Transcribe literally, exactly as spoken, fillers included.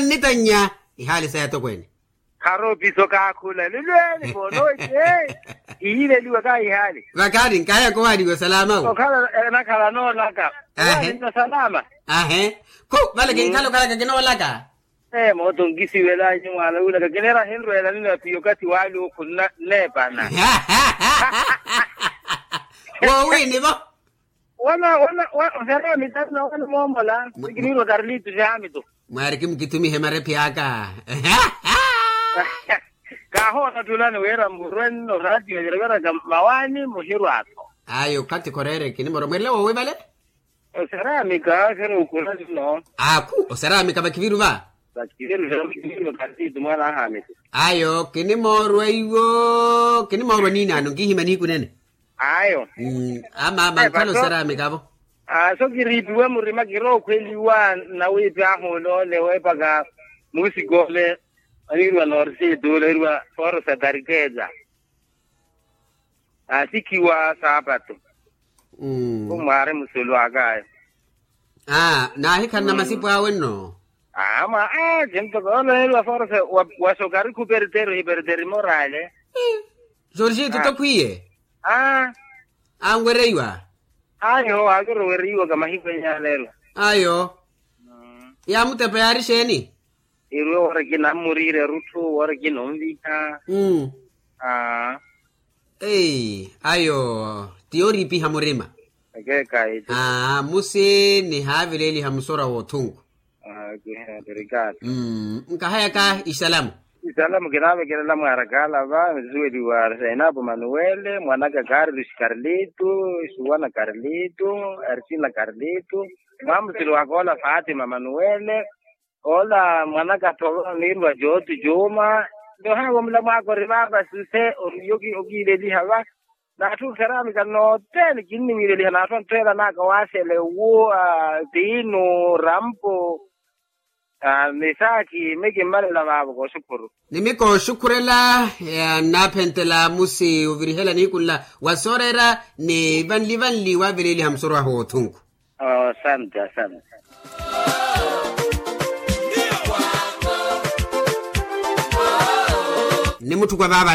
Nnitannya ihaali sa yatokweene. Kharopiso kaakhula lulweeni ponoce. Ihiileliwa kaahihaali. Vakhaani nkahaya kowaaliwa salama wo. Okhala enakhala noolaka. Ahe. Owaali nno salama. Ahe. Khu vale kinkhala okhalaka kinoolaka. Ee mooto nkisiwelanyu mwaana wulaka kinera ahinrweela nino apiyo okathi waali okhunna nneepana. Woowini vo. Wana wana oserya mitano wana moomola. Kiniirwa karlito syamito. Mwaari kimukithumihe marephi aka. Kaahoona thulani wira murwenno ratio yareweraka mawaani muhirwa-tho. Ayo khathi khoreere kinimoorwa mweerele woowi vale. Oseramika kheruukhula nno. Akhu oseramika vakhiviru va. Vakhiviru vakhiviru karlito mwaana ahaamito. Ayo kinimoorwa iwo kinimoorwa niinaano nkihima nihiku nene. Ayo. Ama ama nkhala oseramika vo. Aso kiriipiwe murima kirookhweliwa nawiipi ahu oloole weepaka musikole. Aniiriwa norsitu aniiriwa forosa tarikeza. Asikhiwa sapato. Khumwaari musulu akaya. Naahikhanna masipu awe nno. Ama a jentoko oloneeriwa forosa. Wasokari khuperteri hiperteri morale. Jorgito tokhwiye. Anwereiwa. Ayo aakirowereiwaka mahiku enyaaleerwa. Ayo. Yaamutepa yaari xeeni? Iruwe wari kinammuriire rutthu wari kinonviha. Ayo ti yooriipiha murima. Ekeeka eti. Musi nihaavileeliha musorwa w'othunku. Nkahayaka isalamu. Isalamu kinaavekelela mwaarakaala va nisuweliwa seenaapo manuwele mwanaka karlus karlito, suwana karlito, arsina karlito, mwamusili waka ola fatima manuwele. Ola mwanaka tholo oniiriwa jootu juuma. Nto haavo mula mwaaka ori vaava suse. Okiileliha va. N'atthu oseramika nothene kinniwiileliha n'atthu antthweela n'aka waasele wu, tiinu rampo. Ni saakhi mi kimmalela vaavo kooxukhuru. Ni mi kooxukhurela. Nnaaphentela musi ovirihela nihiku nla wa sooreera ni vanli vanli waavileeliha musorwahu w'othunku. Asante asante. Ni mutthu kwa vaava.